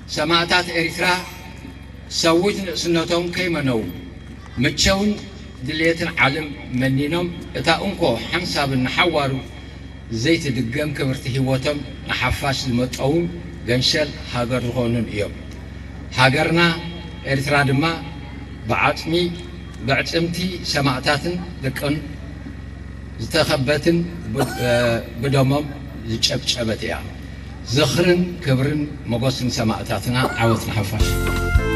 ሰማእታት ኤርትራ ሰዊት ንእስነቶም ከይመነዉ፣ ምቸውን ድልየትን ዓለም መኒኖም፣ እታ እንኮ ሓንሳብን ንሓዋሩ ዘይትድገም ክብርቲ ህይወቶም ንሓፋሽ ዝመጠዉን ገንሸል ሃገር ዝኾኑን እዮም። ሃገርና ኤርትራ ድማ ብዓጽሚ፣ ብዕጽምቲ ሰማእታትን ደቀን ዝተኸበትን ብ-፣ ብደሞም ዝጨብጨበት እያ። ዝኽርን ክብርን ሞገስን ሰማእታትና። ዓወት ንሓፋሽ።